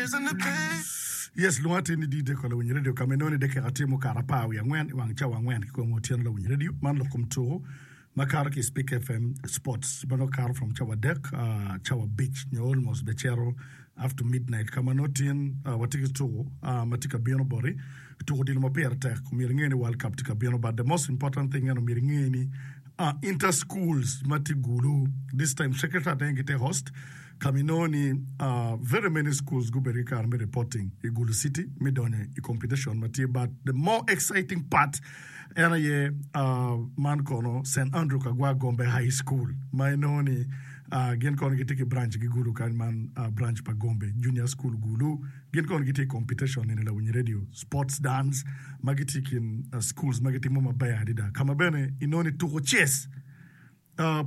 Yes, lwonga atir ni DJ Kola Winyo Radio ka ma inongo ni dakika tye mukato apar wiye angwen i wang cawa angwen ki kome otyeno Lawiny Radio. Man lok kom tuku ma kato ki i Speak FM Sports ma nongo kato from cawa adek cawa abic nyo almost bene cito up to midnight ka ma nongo tin watye ki tuku ma tye ka bino boti. Tuku odilo ma pire tek omyero inge ni World Cup tye ka bino but the most important thing en omyero inge ni Inter schools ma tye Gulu this time Secretariat aye gitye host ka ma inongo ni very many schools gubedo ki kare me reporting i Gulu city me donyo i competition ma tye but the more exciting part en aye man kono St Andrew Kagwa Gombe High School ma inongo ni gin kono gitye ki branch gi Gulu kany man branch pa Gombe Junior School Gulu. Gin kono gitye i competition eni lawiny radio sports dance ma gitye i kin schools ma gitimo maber adada ka ma bene inongo ni tuko chess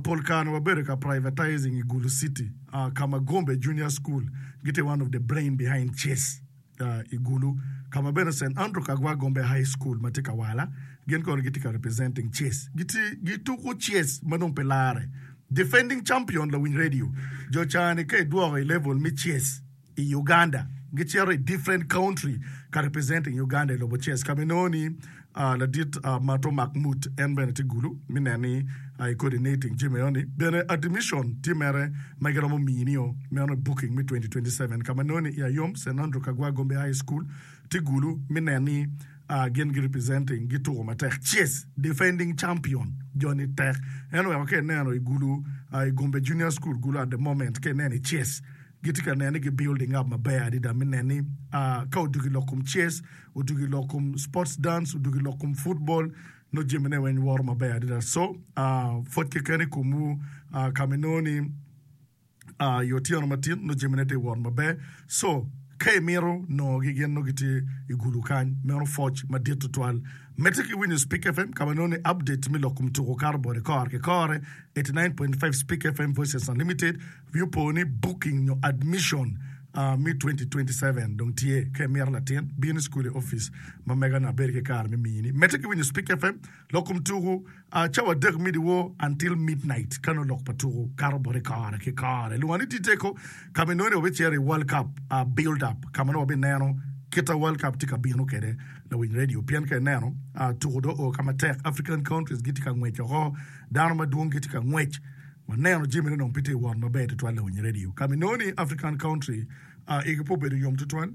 pol kare wabedo ka privatizing i Gulu city ka ma Gombe junior school gitye one of the brain behind chess i Gulu ka ma bene St Andrew Kagwa Gombe high school ma tye Kawala gin kono gitye ka representing chess gitye gituko chess ma dong pe lare defending champion lawiny radio jo cani ka idwoko i level me chess i Uganda gicito i different country ka representing Uganda i lobo chess ka ma inongo ni ladit Mato Makmut en bene tye gulu me neno ni i coordinating jami eno ni bene admission tye mere ma giromo mini o meno booking me 2027 ka ma inongo ni i Ayom St Andrew Kagwa Gombe High School tye gulu me neno ni gin gi representing gituko matek chess defending champion jo ni tek en oweko ka ineno i gulu i Gombe Junior School gulu at the moment ka ineno i chess Gitye ka nene ni gi building up maber adada me neno ni ka odwogo i lok kom chess, odwogo i lok kom sports dance, odwogo i lok kom football nongo jamine weng woto maber adada. So pwoc keken i komwu ka ma inongo ni i otyeno matin nongo jamine tye ka wot maber. So ka imito nongogi gin nongo gitye i gulu kany meno pwoc madit tutwal. Medde ki winyo Speak FM ka ma inongo ni update me lok kom tuko kato boti kore ki kore 89.5 Speak FM Voices Unlimited. Wi opo ni booking nyo admission me 2027 dong tye. Ka imito latin, bin i cukul i opic ma mega nyo abed ki kare me mini. Medde ki winyo Speak FM, lok kom tuku, cawa adek me dyewor until midnight ka nongo lok pa tuku kato boti kore ki kore. Lwonga ni Titeko ka ma inongo ni wabicito i World Cup build up ka ma nongo wabineno kit ma World Cup tye ka bino kwede lawiny radio pien ka ineno tuku dong oo ka matek African countries gitye ka ngwec oko dano madwong gitye ka ngwec Waneno jamine dong pe tye ka wot maber tutwal lawiny radio. Ka ma inongo ni African country igi pe obedo yom tutwal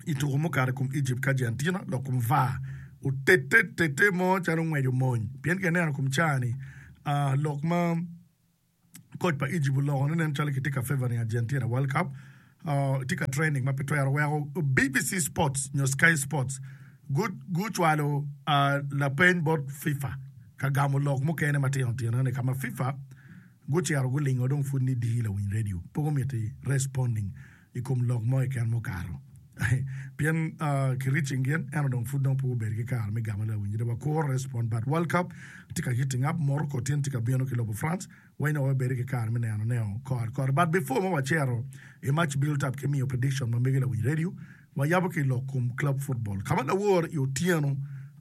i tuko mukato i kom Egypt ki Argentina dok kom var otete tete mo calo ngwec omony pien ka ineno kom caa-ni lok ma koc pa Egypt oloko ni nen calo kitye ka favoring Argentina World Cup tye ka trending ma pe twero weko BBC Sports nyo Sky Sports gucwalo lapeny bot FIFA ka gamo lok mukene matino tino ni ka ma FIFA gucito gulingo dong pud ni dii lawiny radio pe gumiti responding i kom lok mo keken mukato pien ki reaching gin ento dong pud dong pe gubedo ki kare me gamo lawiny radio wakuro respond but World Cup tye ka heating up Morocco tin tye ka bino ki lobo France Wai nongo wabedo ki kare me neno neo kore kore. But before ma wacito i match built up ki miyo prediction ma mege lawiny radio, wayabo ki lok kom club football. Ka ma lawor i otyeno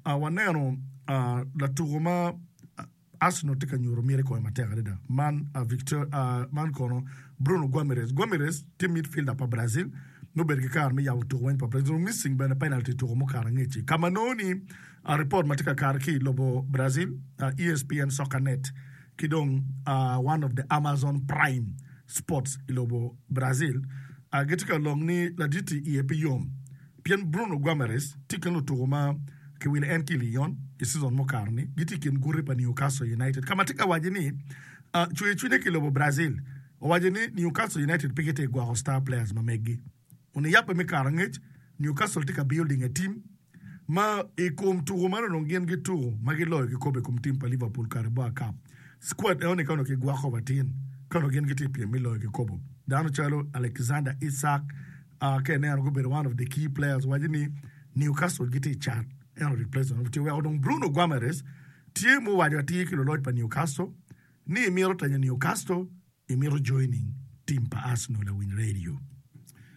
waneno latuko ma Arsenal tye ka nyuto miti kome matek adada man Victor man kono Bruno Guimaraes. Guimaraes tye midfielder pa Brazil ma obedo ki kare me yabo tuko weng pa Brazil. Missing bene penalty i tuko mukato angec-ci. Ka ma nongo ni report ma tye ka kato ki i lobo Brazil, ESPN Soccer Net, ki dong one of the Amazon Prime Sports i lobo Brazil gitye ka lok ni ladit-ti iye pe yom pien Bruno Guimaraes tye i kin lutuku ma kiwilo en ki i Lyon i season mukato-ni gitye i kin guti pa Newcastle United ka ma tye ka waco ni cwer cwinye ki i lobo Brazil owaco ni Newcastle United pe gitye ka gwoko star players ma meggi. Oniyabbe me kare angec, Newcastle tye ka building a team ma i kom tuko man onongo gin gituko ma giloyo kikopo i kom tim pa Liverpool Carabao Cup. Squad enoni ka onongo kigwoko matin ka onongo gin gitye i pyem me loyo kikopo. Dano calo Alexander Isak ka ineno gubedo one of the key players waco ni Newcastle gitye i cat ento replacement tye weko dong Bruno Guimaraes tye muwaco atir ki luloc pa Newcastle ni emito tenyo Newcastle Imito joining team pa Arsenal lawiny radio.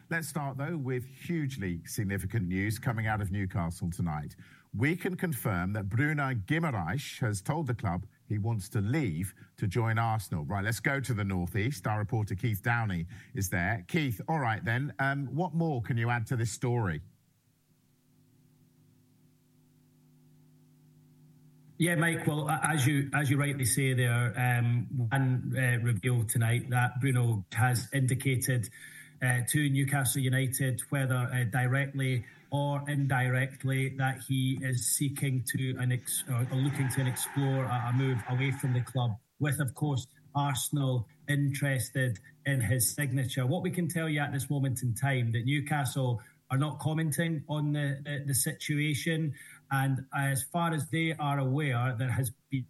Let's start though with hugely significant news coming out of Newcastle tonight. We can confirm that Bruno Guimaraes has told the club. he wants to leave to join Arsenal. Right, let's go to the northeast. Our reporter Keith Downey is there. Keith, all right then, um, what more can you add to this story? Yeah, Mike. Well, as you as you rightly say there, um, one uh, revealed tonight that Bruno has indicated uh, to Newcastle United, whether uh, directly or indirectly, that he is seeking to and ex- or looking to explore a, a move away from the club, with of course Arsenal interested in his signature. What we can tell you at this moment in time that Newcastle are not commenting on the, the, the situation. And as far as they are aware, there has been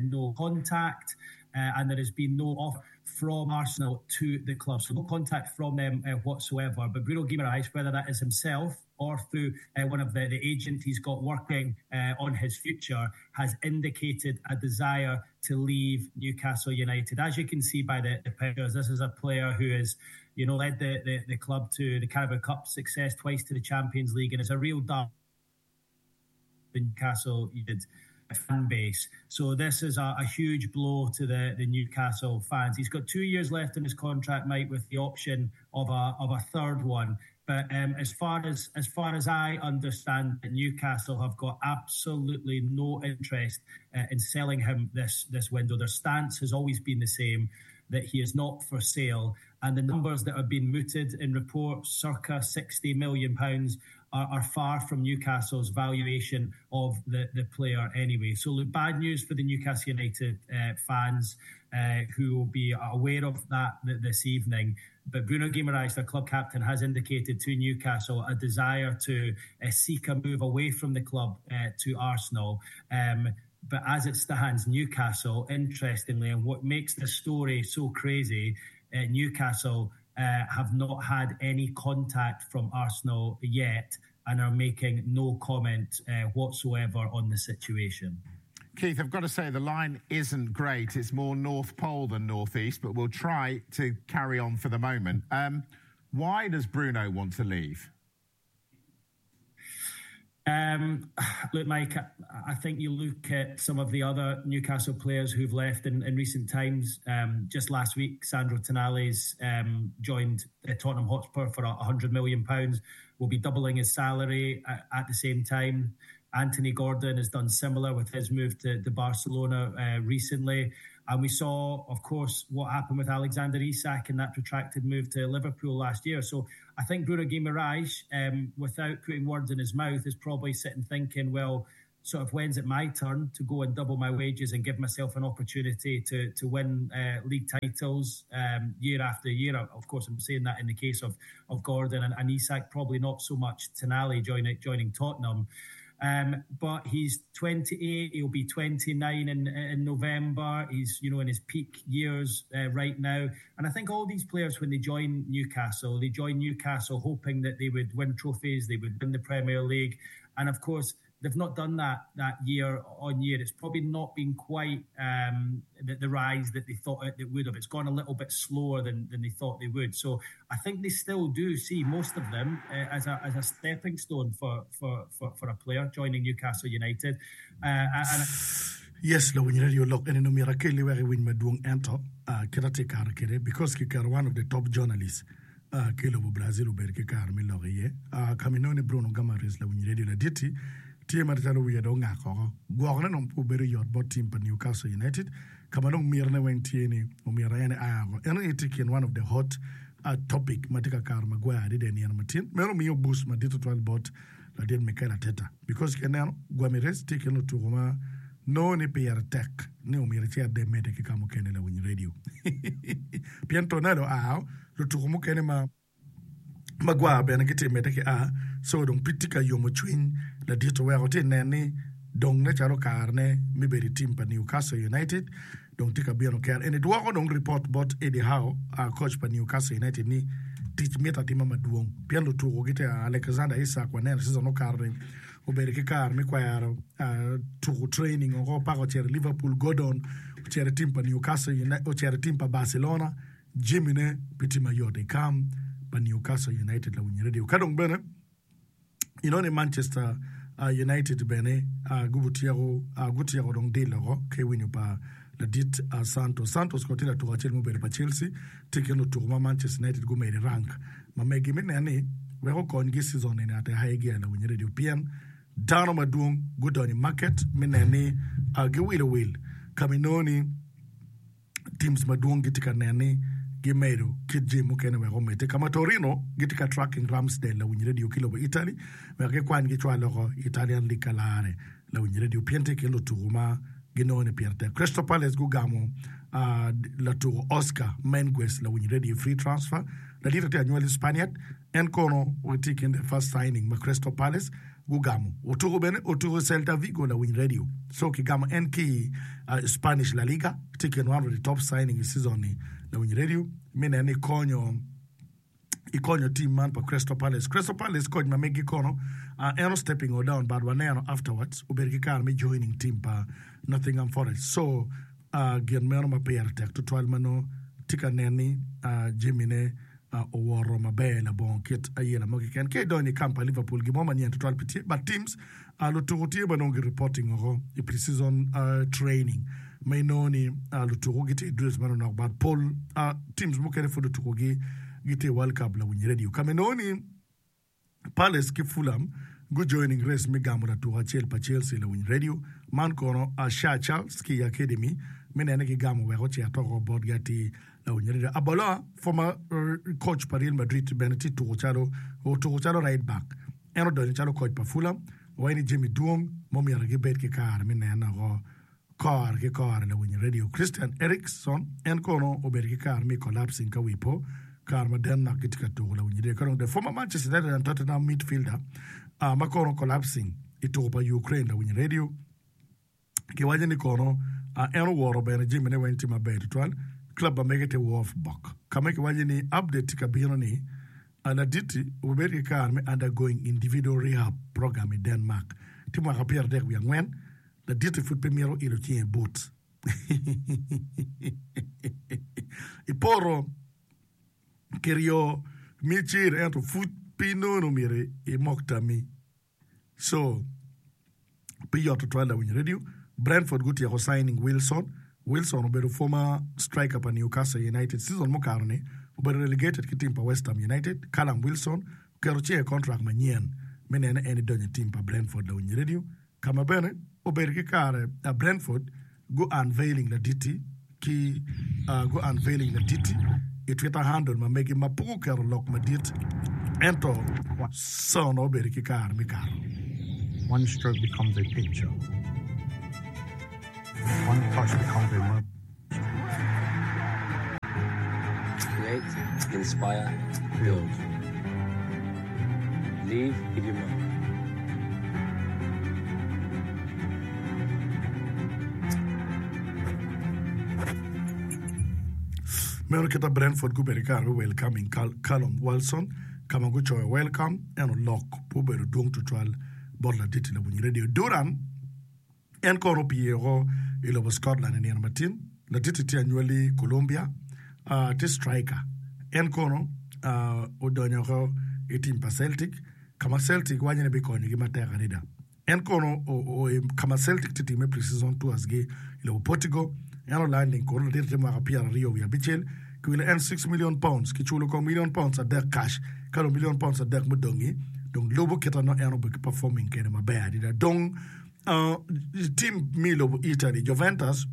no contact uh, and there has been no offer from Arsenal to the club. So no contact from them uh, whatsoever. But Bruno Guimaraes, whether that is himself or through uh, one of the, the agents he's got working uh, on his future, has indicated a desire to leave Newcastle United. As you can see by the, the pictures, this is a player who has, you know, led the, the, the club to the Carabao Cup success, twice to the Champions League, and is a real dark Newcastle United fan base. So this is a, a huge blow to the, the Newcastle fans. He's got two years left in his contract, Mike, with the option of a of a third one. But um, as far as as far as I understand, Newcastle have got absolutely no interest uh, in selling him this this window. Their stance has always been the same that he is not for sale. And the numbers that have been mooted in reports, circa 60 million pounds, are, are far from Newcastle's valuation of the, the player anyway. So, look, bad news for the Newcastle United uh, fans uh, who will be aware of that this evening. But Bruno Guimaraes, their club captain, has indicated to Newcastle a desire to uh, seek a move away from the club uh, to Arsenal. Um, but as it stands, Newcastle, interestingly, and what makes this story so crazy, uh, Newcastle uh, have not had any contact from Arsenal yet and are making no comment uh, whatsoever on the situation. Keith, I've got to say the line isn't great. It's more North Pole than Northeast, but we'll try to carry on for the moment. Um, why does Bruno want to leave? Um, look, Mike, I think you look at some of the other Newcastle players who've left in, in recent times. Um, just last week, Sandro Tonali's um, joined uh, Tottenham Hotspur for £100 million, will be doubling his salary at, at the same time. Anthony Gordon has done similar with his move to, to Barcelona uh, recently. And we saw, of course, what happened with Alexander Isak in that protracted move to Liverpool last year. So I think Bruno Guimaraes, um, without putting words in his mouth, is probably sitting thinking, well, sort of when's it my turn to go and double my wages and give myself an opportunity to to win uh, league titles um, year after year. Of course, I'm saying that in the case of of Gordon and, and Isak, probably not so much Tonali joining joining Tottenham. Um, but he's 28, he'll be 29 in, in November. He's, you know, in his peak years uh, right now. And I think all these players, when they join Newcastle, they join Newcastle hoping that they would win trophies, they would win the Premier League. And of course, they've not done that that year on year. It's probably not been quite um, the, the rise that they thought it, it would have. It's gone a little bit slower than, than they thought they would. So I think they still do see most of them uh, as a as a stepping stone for for, for, for a player joining Newcastle United. Uh, and Yes, lawiny radio lok eni nongo myero akelli wek iwiny madwong ento uh, kit atye kare kwede because kiketo one of the top journalists ki i lobo Brazil obedo ki kare me lok iye. Ka ma inongo ni Bruno Guimaraes lawiny redio ladit-ti tye macalo wiye dong ongak oko. Gwokone dong pe obedo yot bot tim pa Newcastle United ka ma dong mitine weng tye ni omyero en ea oko. En aye tye i kin one of the hot topic ma tye ka kato magwar adada i nino matin. Meno miyo boost madit tutwal bot ladit Mikel Arteta because ka ineno Guimaraes tye i kin lutuku ma nongo ni pire tek ni omyero ecit de emedde ki ka mukene lawiny redio pien Tonali oa Lutuku mukene ma magwar bene gitye ka medde ki a, co dong pe tye ka yomo cwiny ladit oweko tye ka nen ni dong nen calo karene me bedo i tim pa Newcastle United dong tye ka bino kene. Eni dwoko dong ripot bot Eddie Howe, coach pa Newcastle United ni tic mito atima madwong pien lutuku gitye a Alexander Isak waneno season mukato-ni obedo ki kare me kwero tuku training oko paka ocito i Liverpool, Gordon ocito i tim pa Newcastle United ocito i tim pa Barcelona. Jamine pe tye mayot i kam pa Newcastle United lawiny radio. Ka dong bene inongo ni Manchester. United bene gubutyeko gutyeko dong deal oko ki winyo pa ladit Santos. Santos kono tye latuko acel mubedo pa Chelsea, tye i kin lutuko ma Manchester United gumedo i rank ma megi me neno ni wek okonygi season eni at a high gear lawiny radio pien dano madwong gudonyo i market me neno ni giwilo wil ka ma inongo ni teams madwong gitye ka neno ni gimedo kit jami mukene wek omedde. Ka ma Torino gitye ka tracking Ramsdale lawiny radio ki lobo Italy wek gikwany gicwal loko i Italian League ka lare lawiny radio pien tye i kin lutuku ma ginongo ni pire tek. Crystal Palace gugamo latuku Oscar Mengues lawiny radio i free transfer. Ladit tye anywali Spaniard En kono tye i kin the first signing ma Crystal Palace gugamo. Otuko bene otuko i Celta Vigo lawiny radio. So kigamo en ki i Spanish La Liga. Tye i kin one of the top signing i season ni lawiny radio. Me neno ni konyo ikonyo team man pa Crystal Palace. Crystal Palace coach ma megi kono en o stepping o down but waneno afterwards obedo ki kare me joining team pa Nottingham Forest. So gin meno ma pire tek tutwal ma nongo tye ka nen ni jamine owoto maber labongo kit ayela mo keken. Ka idonyo i camp pa Liverpool, gin mo manyen tutwal pe tye, but teams lutuku tye ma nongo gi reporting oko i pre-season training ma inongo ni lutuku gitye i drills manonok but pol teams mukene pud lutuku gi gitye i World Cup lawiny radio ka ma inongo ni Palace ki Fulham gu joining race me gamo latuko acel pa Chelsea lawiny radio man kono Asha Charles ki i academy me nene ki gamo wek ocit oko botgi atir lawiny radio Aboloa former coach pa Real Madrid bene tye tuko calo otuko calo right back en odonyo calo coach pa Fulham waci ni jami dwong ma omyero gibed ki kare me nene oko Kore ki kore lawiny radio Christian Eriksen en kono obedo ki kare me collapsing ka wi po kare ma Denmark gitye ka tuko lawiny radio ka dong the former Manchester United and Tottenham midfielder ma kono collapsing i tuko pa Ukraine lawiny radio kiwaco ni kono en oworo bene jamine weng tye maber tutwal club ma mege tye Wolfsburg ka ma kiwaco ni update tye ka bino ni Ladit-ti obibedo ki kare me undergoing individual rehab program i Denmark tye mwaka 34. Ladit-ti pud pe mito ilo cinge but. I poto kiryo mi cir ento pud pe inongo myero imok tammi. So, pe yot tutwal lawiny radio. Brentford gutyeko signing Wilson. Wilson obedo former striker pa Newcastle United. Season mukato-ni obedo relegated ki team pa West Ham United. Callum Wilson oketo cinge i contract manyen me nene en idonyo i team pa Brentford lawiny radio. Ka ma bene obedo ki kare Brentford gu unveiling laditi ki gu unveiling laditi i Twitter handle ma megi ma pe guketo lok madit ento Son obedo ki kare me kato. One stroke becomes a picture. One touch becomes a moment. Create, inspire, build. Leave your mark. Meno kit ma Brentford gubedo ki kare me welcoming Callum Wilson ka ma gucoyo welcome ento lok pe obedo dwong tutwal bot ladit-ti lawiny redio Durham. En kono opye woko i lobo Scotland i nino matin. Ladit-ti tye anywali Colombia, tye striker. En kono odonyo woko i tim pa Celtic, ka ma Celtic waco ni bikonyogi matek adada. En kono oo ka ma Celtic tye timme pre-season tours gi i lobo Portugal. En olanding kono ladit-ti tye mwaka 25. Kiwilo en £6 million, kiculo kong million pounds adek cash, ka dong million pounds adek mudongi dong lubo kit ma nongo en obedo ki performing kwede maber adada. Dong Tim me lobo Italy, Juventus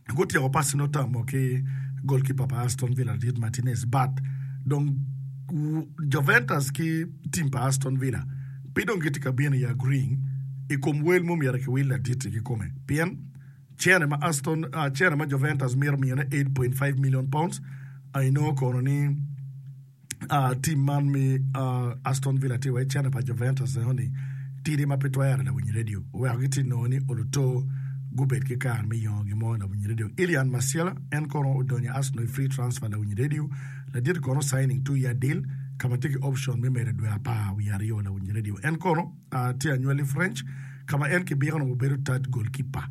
gutyeko passing otamo ki goalkeeper pa Aston Villa ladit Martinez but dong Juventus ki tim pa Aston Villa pe dong gitye ka bino i agreeing i kom wel ma omyero kiwil ladit-ti kikome pien cene ma Aston cene ma Juventus mito miyone £8.5 million inongo kono ni Tim man me Aston Villa tye wa i cente pa Juventus eno ni tidi ma pe twere lawiny radio oweko gitye nongo ni oluto gubed ki kare me yongo gin mo lawiny radio. Ilian Masiela en kono odonyo i Arsenal i free transfer lawiny radio ladit kono signing 2 year deal ka ma tye ki option me medo dwe 12 lawiny radio. En kono tye anywali French ka ma en kibiko nongo obedo third goalkeeper.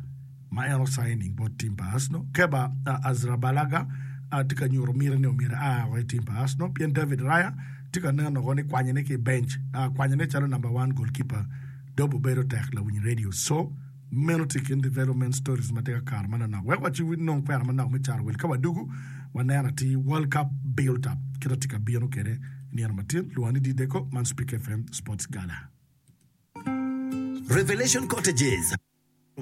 ma en osigning bot tim pa Arsenal. Kepa Arrizabalaga tye ka nyuto miti ni omyero ea woko i tim pa Arsenal pien David Raya tye ka neno woko ni kwanyone ki i bench, kwanyone calo number one goalkeeper. Dobo bedo tek lawiny radio so meno tye kin development stories ma tye ka kato manonok. Wek waci nong kwena manok me caro wel ka wadugu waneno atir World Cup built up kit atye ka bino kede nino matin lwonga ni Dideko man Speak FM Sports Gala. Revelation Cottages,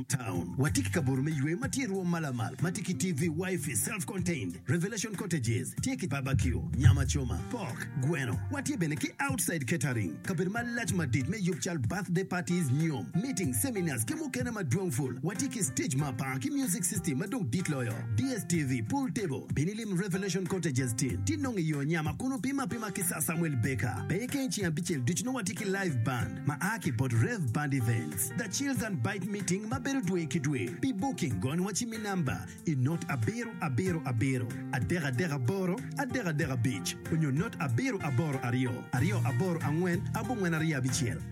Town. Watye ki kabuto me yweyo ma tye i rwom ma lamal ma tye ki TV, Wi-Fi, self-contained. Revelation Cottages tye ki barbecue, nyama coma, pork, gweno. Watye bene ki outside catering, kabedo malac madit me yub cal birthday parties, nyom, meetings, seminars ki mukene madwong pul. Watye ki stage ma apar ki music system ma dong dit loyo, DSTV, pool table. Bin ilim Revelation Cottages tin, ti nongo i yo nyama kun wupimo apima ki Sir Samuel Baker. Pe keng ceng abicel ducu nongo watye ki live band ma a ki bot Rev Band Events. The Chills and Bite Meeting ma bedo dwe ki dwe. Pi booking gony wa ci mi namba i not abiro abiro abiro adek adek aboro adek adek abic onyo not abiro aboro aryo aryo aboro angwen abongwen aryo abicel.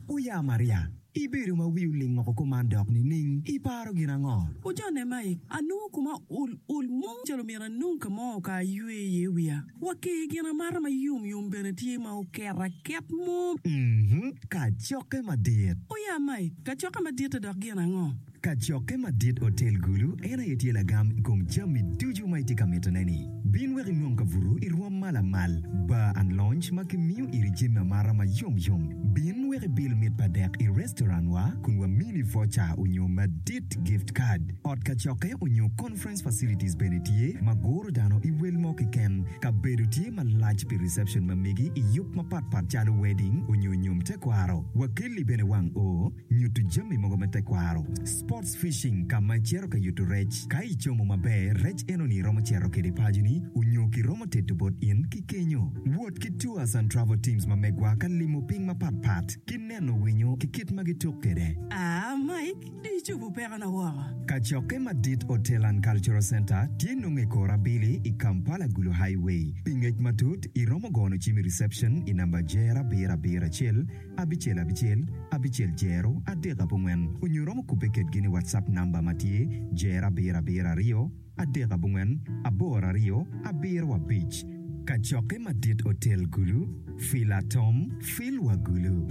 Oya Maria, ibedo ma wi oling woko kuman dok nining? Iparo gin ango? Ojone Mike, anongo koma ol ol mung calo myero anong ka mo ka aywe iye wiya. Wa ki gin amata ma yom yom bene tye ma oket aket mo. Mhm, kacokke madit. Oya Mike, kacokke madit-te dok gin ango? Kacokke madit Otel Gulu en aye tye lagam i kom jami ducu ma itye ka mitone-ni. Bin wek inong kabuto i rwom ma lamal, bar and lounge ma kimiyo iri jami amata ma yom yom. Bin wek ibil mit pa dek i restaurant wa kun wamini voucher onyo madit gift card. Ot kacokke onyo conference facilities bene tye ma guro dano i wel mo keken. Kabedo tye malac pi reception ma megi i yub mapat pat calo wedding onyo nyom tekwaro. Wakelli bene wang oo, nyuto jami mogo me tekwaro. Sports fishing ka ma icito ka yuto rec. Ka icomo maber, rec enoni iromo cito kede paconi onyo kiromo teto bot in ki kenyo. Wot ki tours and travel teams ma megwa ka limo piny mapat pat ki neno winyo ki kit ma gituk kede. Aa Mike, dong icobo pekona woko. Kacokke madit Hotel and Cultural Centre tye nongo i kor abili i Kampala Gulu Highway. Pi ngec matut, iromo gono cim i reception i namba jer abiro abiro acel, abicel abicel, abicel jero, adek abongwen onyo iromo kubbe kedgi ni WhatsApp namba ma tye jero abiro abiro aryo, adek abongwen, aboro aryo, abiro abic. Kacokke madit Otel Gulu, Fil Atom, Fil wa Gulu.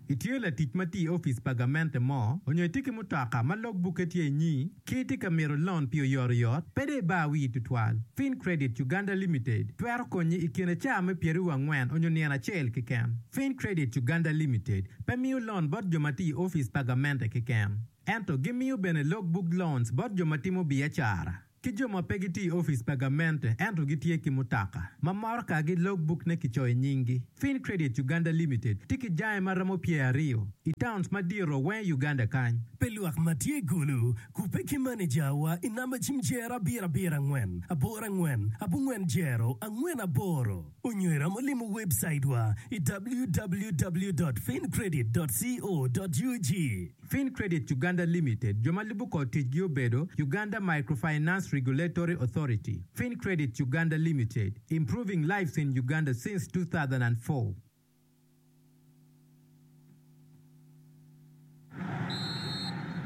Itye latic ma tiyo i opic pa gamente mo, onyo itye ki mutoka ma log bukke tye inyi, ki itye ka mito lon pi oyotoyot, pe dong ibar wii tutwal. Fincredit Uganda Limited twero konyi i kine caa me pyeraryo angwen onyo nino acel keken. Fincredit Uganda Limited pe miyo lon bot jo ma tiyo i opic pa gamente keken, ento gimiyo bene log book loans bot jo ma timo biacara. Ki jo ma pe gitye i opic pa gamente ento gitye ki mutoka ma motokagi logbook-ne kicoyo i nyinggi. Fincredit Uganda Limited tye ki jange ma romo pyeraryo i towns madito weng i Uganda kany. Pi lwak ma tye i Gulu, kubbe ki manejawa i namba cim jero abiro abiro angwen aboro angwen abongwen jero angwen aboro onyo iromo limo webcaitwa i www dot fincredit dot co dot ug. Fincredit Uganda Limited, jo ma lubo kor ticgi obedo, Uganda Microfinance Regulatory Authority, Fincredit Uganda Limited, improving lives in Uganda since 2004.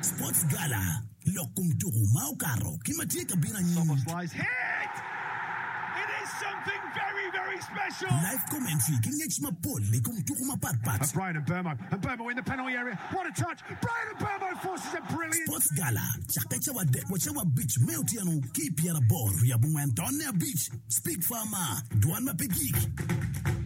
Sports Gala, Lok kom tuku ma okato ki ma tye ka bino anyim. Live commentary ki ngec mapol i kom tuku mapat pat. Sports Gala cakke cawa adek wa cawa abic me otyeno ki i pyeraboro wiye abongwen tonne abic. Speak Farmer, Dwan ma pe gik.